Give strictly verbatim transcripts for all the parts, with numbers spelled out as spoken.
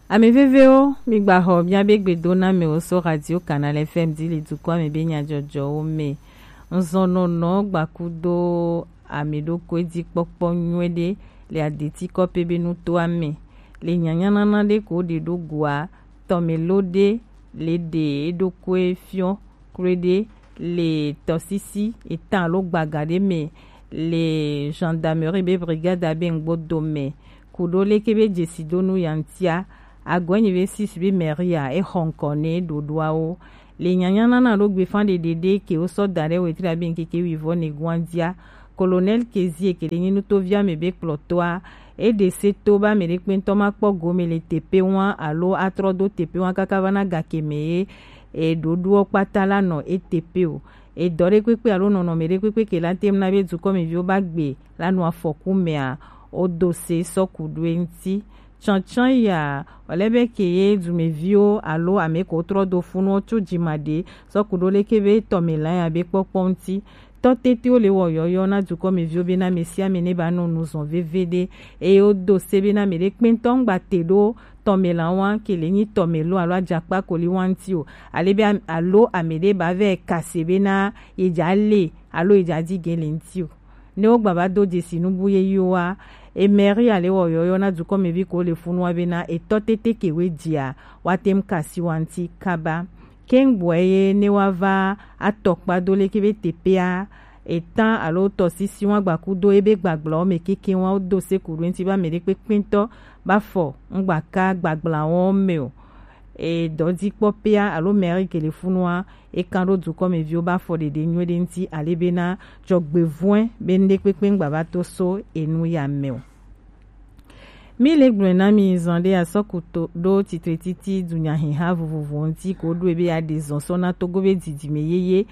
Ame vevewo, mi gba xɔ miabe gbedoname wo so Radio Canal F M di le dukɔa me be nyajɔjɔwo me. Nzɔnɔnɔ gbakudo ame ɖokui dzi kpɔkpɔ nyuie ɖe le adeti kɔpe be nutoa me. Le nyanyanana ɖe ko ɖe ɖo goa, tɔmelo ɖe le ɖe eɖokui fiɔ kloe ɖe le tɔsisi etã alo gbaga ɖe me le gendarmerie be brigade abe ŋgbo dome. Kuɖo leke be jesidonu ya ŋutia, agɔnyi be six be Maria exɔ ŋkɔ ne ɖoɖoawo. Le nyanyanana ɖo gbefa ɖeɖe ɖe ke wo sɔ da ɖe wetri abe ŋkeke wivɔ ne guan dia. Colonel Kezie ke ɖe nyi nutovia me be kplɔtɔa, e ɖe se to be ame ɖe kpɛntɔ ma kpɔ gome le tepe wa alo atrɔ do tepe wa kaka va na gake me ye e ɖoɖoɔ kpata la nɔ e tepe o. Edɔ ɖe kpekpe alo nɔnɔme ɖe kpekpe ke la tem na be dukɔmeviwo ba gbe la nɔ afɔku mea, o do se sɔ ku ɖo e ŋuti. Tsantsan ya, wòle be ke ye dumeviwo alo ame ko trɔ do funuwo tso dzima ɖe sɔ ku ɖo leke be tɔmela ya be kpɔkpɔ ŋuti. Tɔ tetewo le wɔ yɔyɔ na dukɔmeviwo be na ame sia ame ne ba nɔ nu zɔn veve ɖe, eye wodo se be na ame ɖe kpɛntɔ ŋgba te ɖo tɔmela wa ke le nyi tɔmelo alo adzakpa ko li wa ŋuti o, ale be am- alo ame ɖe ba vɛ kase be na ye dza le alo ye dza di ge le ŋuti o. Ne wogba va do dzesi nubu yeyewoa, emɛri ale wɔ yɔyɔ na dukɔmevi ko le funua bena etɔ tete ke we dzia, woate ŋu ka asi wa ŋuti kaba. Keŋ gbɔe ye ne woava atɔkpa do leke be teƒea eta alo tɔsisi wa gbakudo ebe gbagblãwo me kekeŋ wa wodo se ku ɖo eŋuti be ame ɖekpekpe ŋutɔ ba fɔ ŋgbaka gbagblãwo me o. E dɔdzikpɔƒea alo mɛri ke le funua, e kan ɖo dukɔmeviwo ba fɔ ɖeɖe nyuie ɖe ŋuti ale bena dzɔgbevɔ̃e be ŋɖekpekpe ŋgba va to so enu ya me o. Mi le gblɔe na mi zan ɖe asɔkuto ɖo titre titi dunyahiha vovovo ŋuti ko ɖoe be aɖe zɔn sɔ na Togo be didime yeye.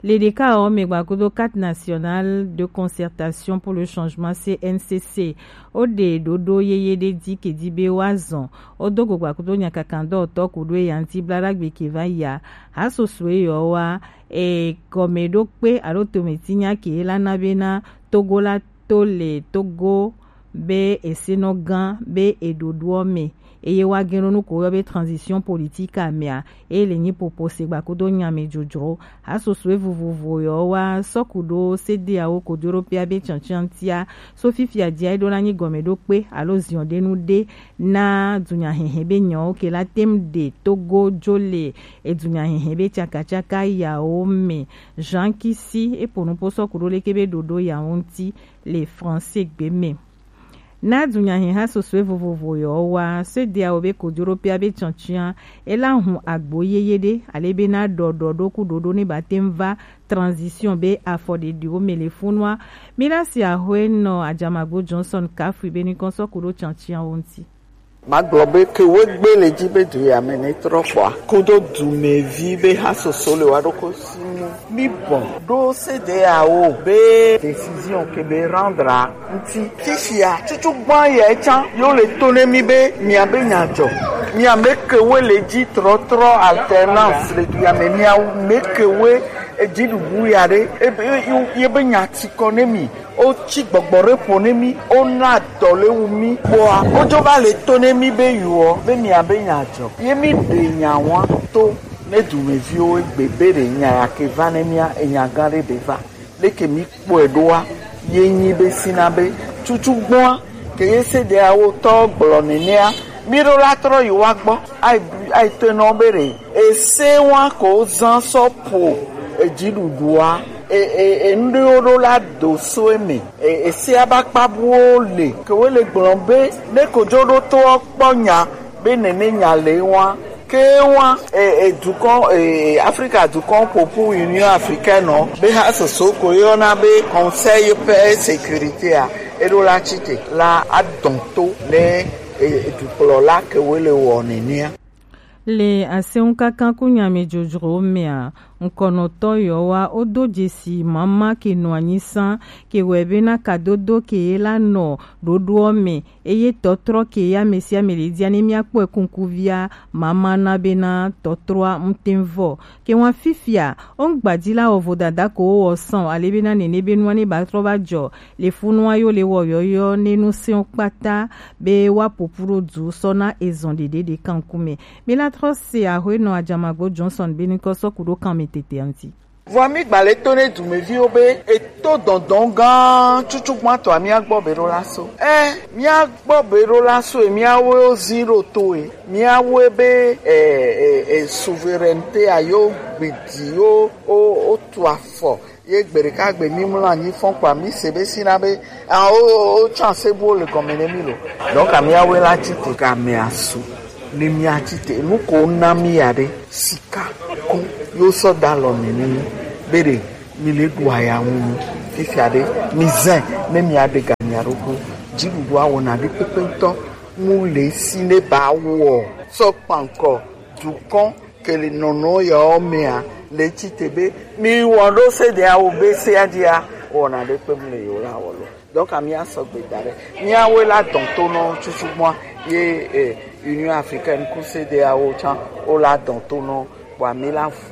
Le ɖeka ɔ me gbakudo Cadre National de Concertation pour le Changement, C N C C, wo ɖe ɖoɖo yeye ɖe di ke di be woazɔn. Wodo go gbakudo nyakakandɔtɔ ku ɖo eya ŋuti blaɖagbe ke va yia. Hasosoe yɔ wa, e gɔmeɖokpe alo tometinya ke la na bena Togo la to le Togo be esenɔ gã be eɖoɖoɔ me, eye woage ɖo nu ko woyɔ be transition politique amea, eye le nyi popo se gbakudo nyame dzodzro. Hasosoe vovovo yɔ wa sɔku ɖo sedeawo ko do ɖo pia be tsantsantia so fifia dia eɖo na nyi gɔmeɖokpe alo ziɔɖenu ɖe na dunyahehe be nyawo ke la tem ɖe Togo dzo le edunyahehe be tsakatsaka yawo me. Jean Kisi epo nupo sɔku ɖo leke be ɖoɖo yawo ŋuti le français gbe me. Na dunyaheha sosoe vovovo yɔ wa, sedeawo be kojoɖoƒea be tsɔntsɔa, ela hun agbo yeye ɖe, ale be na ɖɔɖɔ ɖo ku ɖoɖo ne ba tem va transition be afɔɖeɖiwo me le funua. Mi la si ahwe nɔ Ajamagbo Johnson Kafui be ni kɔnsɔ ku ɖo tsɔntsɔawo ŋuti. Magblɔ be ke wegbe le dzi be du ya me ne trɔ kpɔa, kudo dumevi be hasoso le wa ɖoko sinu. Mi bɔ ɖo sedeawo be décision ke be rendre ŋuti. Fifia, tutu gbã yɛ tsã, yo le to ne mi be miabe nya dzɔ. Miame kewe le dzi trɔtrɔ alternance le du ya me. Miame kewe edziɖuɖu ya ɖe, ebe, ye, ye be nya ti kɔ ne mi. Wotsi gbɔgbɔ ɖe ƒo ne mi, wona dɔ le wu mi. Kpɔa, wodzo va le to ne mi be yuɔ, be miabe nya dzɔ. Ye mi ɖe nya wa to ne dumeviwo egbe be ɖe nya ya ke va ne mia, enya gã ɖe ɖe va. Leke mi kpɔe ɖoa, ye nyi be sina be tutu gbɔa, ke ye sedeawo tɔ gblɔ nenea, mi ɖo la trɔ yi wa gbɔ, ai, ai to nɔ be ɖe, ese wa ko zan sɔ po edziɖuɖua, e, e, e, nu ɖewo ɖo la do so eme, e, esea ba kpa buwo le, ke wo le gblɔ be, ne kojoɖotoɔ kpɔ nya, be nene nya le wa. Ke wa, e, e, dukɔ, e, Afrika dukɔ ƒoƒu Union Africaine nɔ be ha soso ko yɔna be Conseil Paix et Sécurité a, eɖo la tsi te la adɔn to ne, e, e, dukplɔla ke wo le wɔ nenea. Le asɛnŋ kaka ku nyamɛ jojro mɛ a, ŋkɔnɔtɔ yɔ wa o do jesi mama ke nɔ anyi san ke wɛ be na kadodo ke ye la nɔ ɖoɖoɔ mɛ, eye tɔtrɔ ke ya mɛ sia mɛ le dia ne mia kpɔe kunkuvia mama na be na tɔtrɔa ŋtɛnvɔ. Ke wa fifia o ŋgbadila ɔvo dada ko wɔ san ale be na nene be nua ne ba trɔ ba jɔ le funua yo le wɔ yɔyɔ ne nu sɛn kpata be wa popu ɖo du sɔ na ezɔn ɖeɖe ɖe kanku mɛ. Mi la trɔ se axwe nɔ ajamagbo Johnson be ni kɔ sɔ ku ɖo kan mi tete anti. Vɔ mi gba le to ne dumeviwo be eto dɔndɔn gã tutu gbãtɔ a mia gbɔ be ɖo la so. Ɛ mia gbɔ be ɖo la so e mia wo zi ɖo to e mia wo be ɛ ɛ ɛ souveraineté a yo gbidi yo o o tu afɔ. Ye gbe ɖeka gbe mi mlɔ anyi fɔn kpa mi se be si na be ah o o o tsã se bu le gɔme ne mi lo. Donc amiawe la tsi te ka me asu ne mia tsi te nu ko na mi ya ɖe sika ko yo sɔ da lɔ mi ni be ɖe mi le ɖu aya ŋu nu fifia ɖe mi zɛ ne mia ɖe ga mia ɖokui dziɖuɖu awɔna ɖe kpekpe ŋutɔ mu le si ne ba wɔ sɔ kpankɔ dukɔn ke le nɔnɔ yawo mea le tsi te be mi wɔ ɖo se de awo be se adzia wɔna ɖe kpe mu le yewo la wɔ lo. Donc ami asɔ gbe da ɖe miawo la dɔn to nɔ tutu gbɔn ye eh, Union Africaine ku se de awo tsã wo la dɔn to nɔ bɔ ami la fu.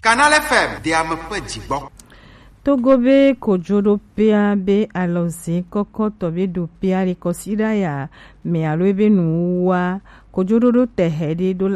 Canal F M de ame ƒe dzigbɔ. Togo be kojoɖoƒea be alɔze kɔkɔtɔ be ɖoƒea le kɔsiɖa ya me alo ebe nuwuwua kojoɖoɖo tɛhɛ ɖe ɖo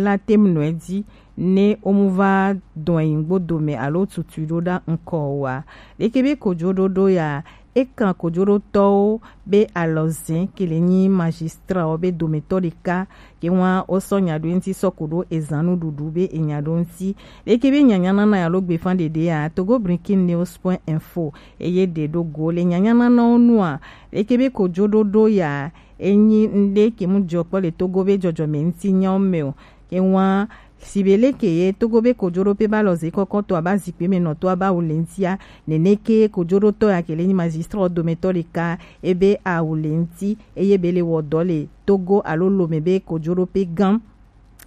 la tem nɔ edzi ne womuva dɔn yi ŋgbo dome alo tutui ɖo ɖa ŋkɔ oa. Leke be kojoɖoɖo ya ekan kojoɖotɔwo be alɔze ke le nyi magistrao be dometɔ ɖeka ke wa wosɔ nya ɖo eŋuti sɔ ku ɖo ezan nuɖuɖu be enya ɖo ŋuti. Leke be nyanya nana alo gbefa ɖeɖea Togo Breaking News point info eye ɖe ɖo go le nyanya nanawo nua. Leke be kojoɖoɖo ya enyi ŋɖe ke mu jɔ kpɔ le Togo be jɔjɔme ŋuti nyawo me o. Ke wa si be leke ye Togo be kojoɖoƒe ba lɔ ze kɔkɔtɔ aba zikpui me nɔtɔ aba wu le ŋutia. Nene ke kojoɖotɔ ya ke le nyi magistrao dometɔ ɖeka ebe awu le ŋuti eye be le wɔ dɔ le Togo alo lome be kojoɖoƒe gã.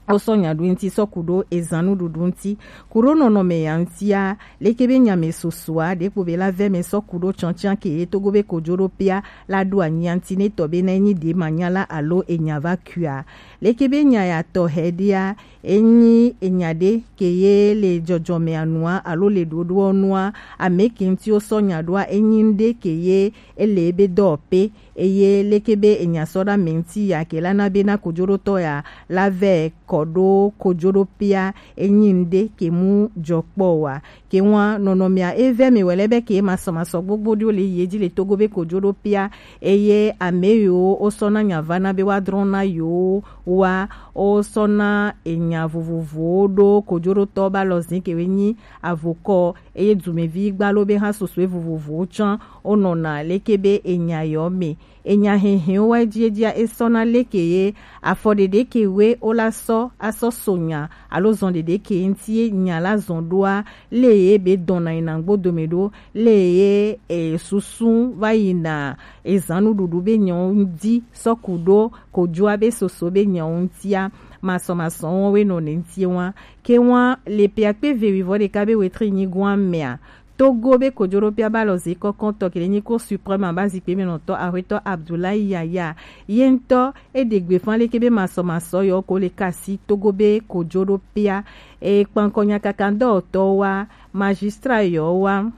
Wosɔ nya ɖo ŋuti sɔ ku ɖo ezan nuɖuɖu ŋuti ku ɖo nɔnɔme ya ŋutia. Leke be nya me sosoa ɖekpo be la vɛ me sɔ ku ɖo tsɔtsã ke ye Togo be kojoɖoƒea la ɖo anyia ŋuti ne tɔ be na enyi ɖe manya la alo enya va kua. Leke be nya ya tɔ hɛ ɖea enyi enya ɖe ke ye le jɔjɔme anua alo le ɖoɖoɔ nua ame ke ŋuti wosɔ nya ɖoa enyi ŋɖe ke ye ele ebe dɔwɔƒe. Eye leke be enya sɔ ɖa me ŋuti ya ke la na be na kojoɖotɔ ya la vɛ kɔ ɖo kojoɖoƒea enyi ŋɖe ke mu jɔ kpɔ wa. Ke wa nɔnɔmea evɛ me wɛlɛ be ke masɔmasɔ gbogbo ɖewo le yi edzi le Togo be kojoɖoƒea eye ame yiwo wosɔ na nya va na be wa drɔ̃ na yiwo wa wosɔ na enya vovovowo ɖo kojoɖotɔ ba lɔ zi ke we nyi avokɔ eye dumevi gbalo be hã sosoe vovovowo tsã wonɔna leke be enya yɔ me. Enya hehewo wa edziedzia esɔna leke ye afɔ ɖeɖe ke we wola sɔ asɔ so nya alo zɔn ɖeɖe ke ŋuti ye nya la zɔn ɖoa le ye be dɔna yina ŋgbo dome ɖo le ye e, susu va yina ezan nuɖuɖu be nyawo ŋdi sɔ ku ɖo kojoa be soso be nyawo ŋtia masɔmasɔ wɔn we nɔ ne ŋtie wa. Ke wa le pe akpe ve wivɔ ɖeka be wetri nyigoa mea Togo be kojoɖoƒea ba lɔ ze kɔkɔtɔ ke le nyi ko supreme aba zikpui me nɔtɔ ahwetɔ Abdoulaye Yaya ye ŋutɔ eɖe gbefa leke be masɔmasɔ yɔ ko le kasi Togo be kojoɖoƒea e kpankɔ nyakaka ŋdɔwɔtɔ wa magistrat yɔ wa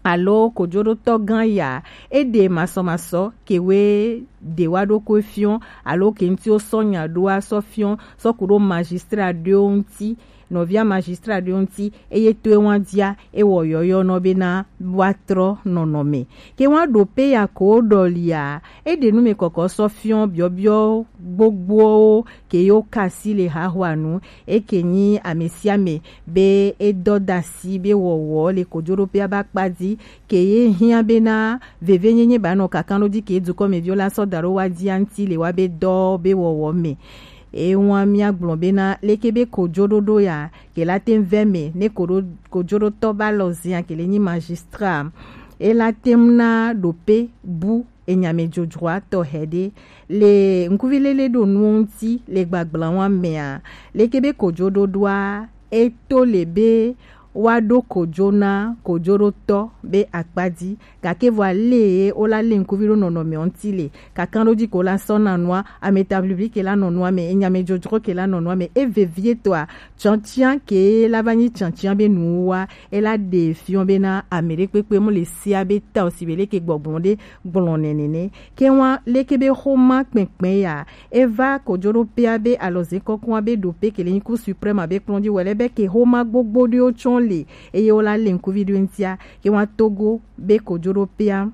alo kojoɖotɔ gã ya eɖe masɔmasɔ ke we ɖe wa ɖo ko fiɔ alo ke ŋuti wo sɔ nya ɖoa sɔ fiɔ sɔ ku ɖo magistrat ɖewo ŋuti nɔvia magistrat ɖewo ŋuti eye to ewa dzia ewɔ yɔyɔ nɔ bena woatrɔ nɔnɔme. Ke wa ɖo pe ya ko wo ɖɔlia eɖe nu me kɔkɔ sɔ fiɔ biɔbiɔ gbogbowo ke yo kasi le hahoa nu eke nyi ame sia ame be edɔ dasi be wɔwɔ le kojoɖoƒea ba kpa di ke ye hiã bena vevenyenye ba nɔ kakan ɖo di ke dukɔmeviwo la sɔ da ɖo wa dia ŋuti le wa be dɔ be wɔwɔ me. Ewa mia gblɔ bena leke be kojoɖoɖo ya ke la te vɛ me ne koɖo kojoɖotɔ ba lɔ zia ke le nyi magistrat e la te na ɖo pe bu enyamejojroa tɔxɛ ɖe le ŋkuvi lele ɖo nuwo ŋuti le gbagblawa mea, leke be kojoɖoɖoa eto le be woaɖo kojo na kojoɖotɔ be akpa dzi, gake vɔa le ye wola le ŋkuvi ɖo nɔnɔmeɔ ŋuti le kakanɖoji ko la sɔ na nua, ametablibli ke la nɔ nua me, enyamejojro ke la nɔ nua me, evevietɔa, tsɔtsiã ke la va nyi tsɔtsiã be nuwa, ela ɖe fiɔ be na ame ɖe kpekpe mu le sia be ta o si be leke gbɔgblɔ ɖe gblɔ nɛnɛ nɛ. Ke wa leke be xoma kpɛnkpɛn ya, eva kojoɖoƒea be alɔze kɔkɔa be ɖoƒe ke le nyi Cour suprême be kplɔ̃ dzi wɛlɛ be ke xoma gbogbo ɖewo tsɔ le, eye wola le ŋkuvi ɖo ŋutia, ke wa Togo be kojoɖoƒea.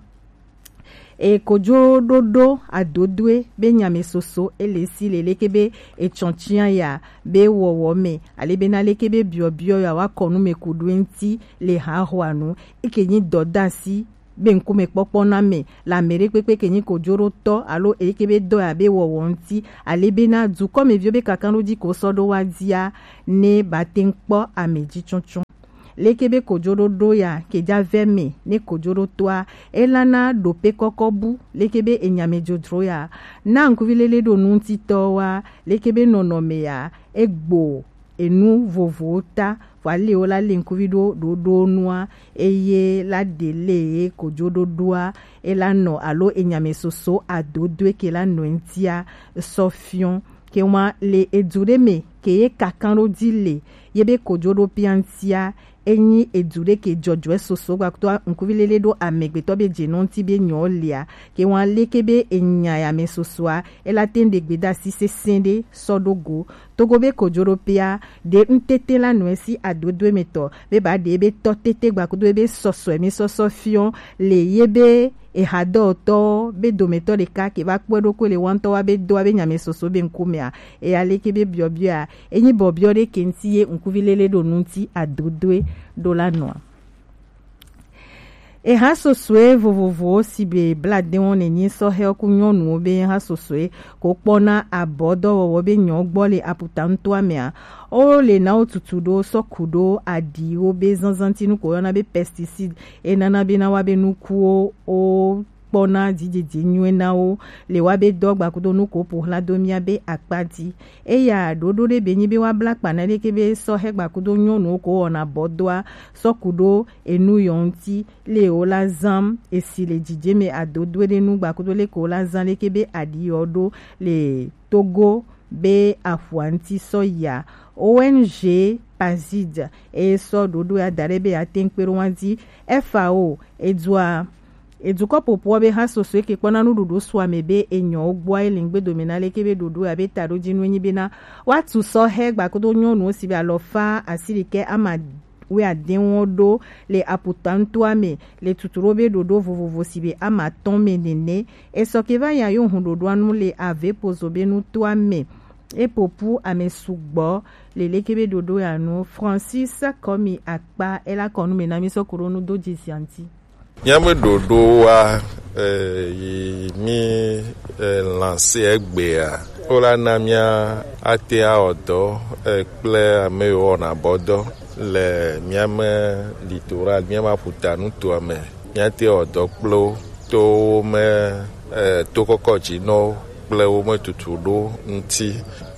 E kojoɖoɖo adodoe be nyame soso ele si le leke be etsɔtsiã ya be wɔwɔ me, ale be na leke be biɔbiɔ ya wa kɔ nu me ku ɖo ŋuti le haxɔa nu, eke nyi dɔdasi be ŋkume kpɔkpɔ na me le ame ɖe kpekpe ke nyi kojoɖotɔ alo eke be dɔ ya be wɔwɔ ŋuti, ale be na dukɔmeviwo be kakanɖoji ko sɔ ɖo wa dia ne ba te ŋu kpɔ ame ji tsɔtsɔ. Leke be kojoɖoɖo ya ke ja vɛ me ne kojoɖotɔa, elana ɖope kɔkɔ bu, leke be enyamejojro ya na ŋkuvi lele ɖo nu ŋutitɔ wa, leke be nɔnɔme ya egbo enu vovowo ta, vɔ ale wo la le ŋkuvi ɖo ɖoɖo nua, eye la ɖe le ye kojoɖoɖoa, ela nɔ alo enyame soso adodoe ke la nɔ ŋutia sɔ fiɔ. Ke wa le edu ɖe me ke ye kakan ɖo dzi le ye be kojoɖoƒea ŋutia, enyi edu ɖe ke jɔjɔe soso gbakuto ŋkuvi lele ɖo amegbetɔ be dze nɔ ŋuti be nyɔ lia, ke wa leke be enya ya me sosoa, ela te ŋu ɖe gbeɖasi sesẽ ɖe sɔ ɖo go. Togo be kojoɖoƒea ɖe ŋutete la nɔe si adodo emetɔ be ba ɖe be tɔ tete gbakudo be sɔsɔe mi sɔsɔ fiɔ le ye be ehadɔtɔ be dometɔ ɖeka ke va kpɔe ɖokui le wantɔ wa be doa be nyame soso be ŋkumea, eya leke be biɔbiɔa, enyi bɔbiɔ ɖe ke ŋuti ye ŋkuvi lele ɖo nu ŋuti adodoe ɖo la nɔa. Eha sosoe vovovowo si be bladewo nènyi sɔhɛwo ku nyɔnuwo be ha sosoe ko kpɔna abɔdɔwɔwɔ be nyɔ gbɔ le aputa ŋutoa mea, wo le na wo tutu ɖo sɔku ɖo aɖiwo be zanzanti nu ko yɔna be pesticide, enana be na wa be nukuwo wo kpɔna dzidzedze nyuie na wo le wa be dɔ gbakudo nu ko ƒo xla do mia be akpa dzi. Eya ɖoɖo ɖe be nyi be wa bla kpa na leke be sɔhɛ gbakudo nyɔnuwo ko wɔna bɔdɔa sɔku ɖo enu yɔ ŋuti le wo la zam esi le dzidze me adodoe ɖe nu gbakudo leke wo la zam leke be aɖi yɔ ɖo le Togo be aƒua ŋuti sɔ ya. O N G Pazid e sɔ ɖoɖo ya da ɖe be ya te ŋu kpe ɖo wa dzi. F A O edua edukɔ ƒoƒoa be ha soso eke kpɔna nuɖuɖu sua me be enyɔwo gbɔa ele ŋgbe dome na leke be ɖoɖo ya be taɖodzi nu enyi be na woatu sɔhɛ gbakudo nyɔnuwo si be alɔfa asi ɖekɛ ama wuiadewo ɖo le aputa ŋutoa me le tutu ɖo be ɖoɖo vovovo si be ama atɔ̃ me nene. Esɔ ke va ya yo hun ɖoɖoa nu le ave pozo be nutoa me. Epopu ame sugbɔ le leke be ɖoɖo ya nu. Francis Kɔmi Akpa ela kɔnu me na mi sɔ ku ɖo nu do dzi zia ŋuti. Míaƒe ɖoɖowoa, eh, yi mí, eh, lanse egbea, wola na mía ate awɔ dɔ, eh, kple ame yiwo wɔna bɔdɔ le míame littoral, míame aƒuta nutoa me. Míate wɔ dɔ kple wo to wo me, eh, to kɔkɔ dzi nɔ wo kple wo me tutu ɖo ŋuti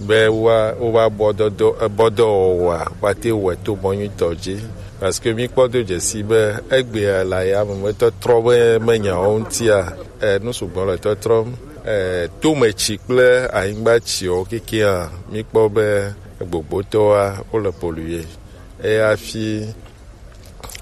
be woa, woƒe abɔdɔdɔ, ebɔdɔwɔwɔa, woate wɔe to mɔ nyuitɔ dzi. Parce que míkpɔ do dzesi be egbea le ayame me tɔtrɔ be menya wo ŋutia, eh, nu sugbɔ le tɔtrɔm. Eh, tometsi kple anyigbatsiwo kekeŋa, míkpɔ be gbogbotɔwoa, wole polluer. Eye hafi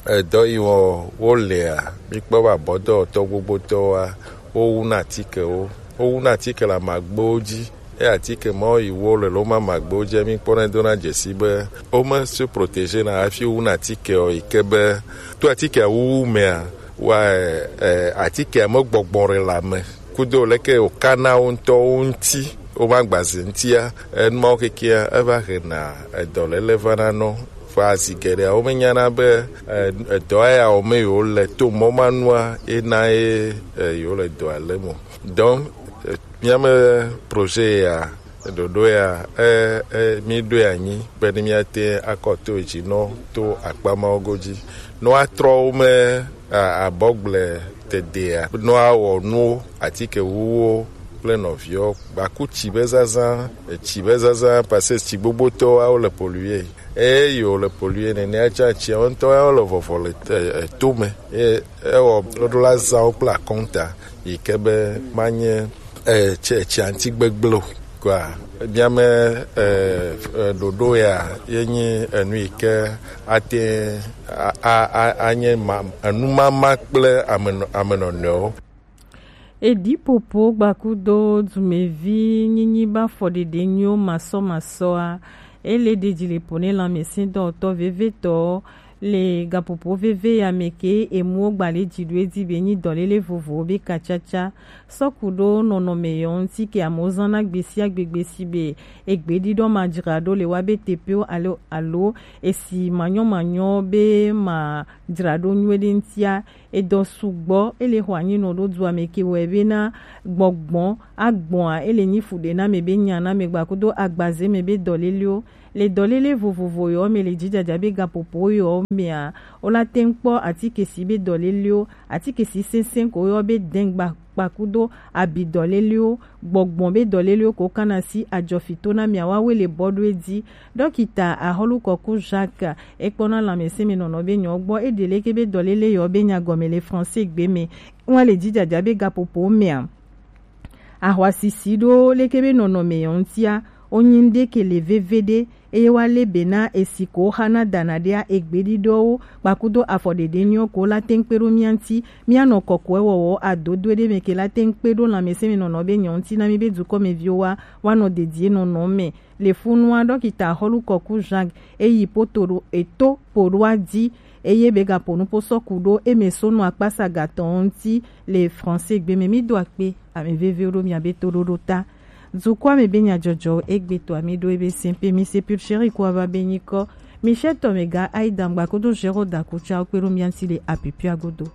edɔ yi wɔ wolea, míkpɔ be abɔdɔwɔtɔ gbogbotɔwoa, wowuna atikewo. Wowuna atike le amagbewo dzi. Eye atike mawo yi wo le loma amagbewo dzi, míkpɔnɛ dona dzesi be wome se protéger na hafi wowuna atike o, yi ke be to atikea wuwu mea, wa, eh, atikea megbɔgbɔ ɖe le ame kudo leke wòkana wo ŋutɔwo ŋuti, woƒe agbaze ŋutia, enu mawo kekea, eva hena edɔléle vana nɔ. Vɔa zi geɖea, womenyana be, eh, edɔ ya wɔme yewole to mɔ ma nua, ena ye, eh, yewole dɔa lém o. Donc, eh, míame projet ya, ɖoɖo ya, eh, eh, míɖoe anyi be ne míate akɔ to edzi nɔ to akpa mawo godzi. Ne woatrɔ wo me a- abɔgble dedea nɔ awɔ nuwo, atike wuwo kple nɔviwo, gbaku tsi be zazã, etsi be zazã, parce que tsi gbogbotɔwo awo le polluer. Eye wo le polluer nenea tsã, tsia wo ŋutɔ yawo le vɔvɔ le e- e- to me. Eye ewɔ ɖoɖo la zã wo kple akɔnta yi ke be manye e- tse- tsia ŋuti gbegblẽ o. Kɔa, míame e- e- ɖoɖo ya ye nyi enu yi ke ate a- a- a- anye ma- enumama kple amenɔ- amenɔnɔewo. Edi popo gbakudo dumevi nyinyi ba fɔɖeɖe nyuiwo masɔmasɔa, ele ɖeji le po ne lãmesẽdɔwɔtɔ vevetɔwo le gapopo veve ya me ke emuwo gbalẽ dzi ɖo edzi be nyi dɔlele vovowo be kacaca sɔku ɖo nɔnɔme yɔ ŋuti ke amewo zãna gbesiagbe gbesi be egbeɖiɖɔ ma dzra ɖo le wa be teƒewo alo alo esi manyɔmanyɔ be ma dzra ɖo nyuie ɖe ŋutia. Edɔ sugbɔ ele xɔ anyi nɔ ɖo dua me ke wɔe bena gbɔgbɔ agbɔa ele nyi fu ɖe na me be nya na me gbakudo agbaze me be dɔlelewo le dɔlele vovovo yɔ me le dzidzadza be gapopo yɔ mea, wola te ŋu kpɔ atike si be dɔlelewo, atike si sesẽ ko yɔ be dɛn gba kpakudo abi dɔlelewo, gbɔgbɔ be dɔlelewo ko kana si adzɔfito na mia wa we le bɔ ɖo edzi. Dɔkita Ahɔlu Kɔku Jacques ekpɔna lãmesẽmenɔnɔ be nyɔ gbɔ eɖe leke be dɔlele yɔ be nya gɔme le français gbe me. Wa le dzidzadza be gapopo mea, ahwasisi ɖo leke be nɔnɔme yɔ ŋutia, wonyi ŋɖe ke le veve ɖe, eye wa le be na esi ko xana dana ɖea egbeɖiɖɔwo kpakudo afɔɖeɖe nyɔ ko la te ŋu kpe ɖo mia ŋuti. Mia nɔ kɔkɔe wɔwɔ adodo ɖe me ke la te ŋu kpe ɖo lãmesẽmenɔnɔ be nyɔ ŋuti na mi be dukɔmeviwo wa wa nɔ dedie nɔnɔ me. Le funua dɔkita Ahɔlu Kɔku Jacques eyi poto ɖo eto po ɖo adzi eye be gapo nupo sɔku ɖo eme sonu akpasa gatɔ ŋuti le français gbe me. Mi do akpe ame vevewo ɖo mia be to ɖoɖo ta. Dukɔa me be nyadzɔdzɔ egbe to ami ɖo ebe sɛnpe mi se pulcheri ko ava be nyikɔ mi se tɔ me ga ayi dangba kodo zero da kutsa kpe ɖo mia ŋuti le apipia godo.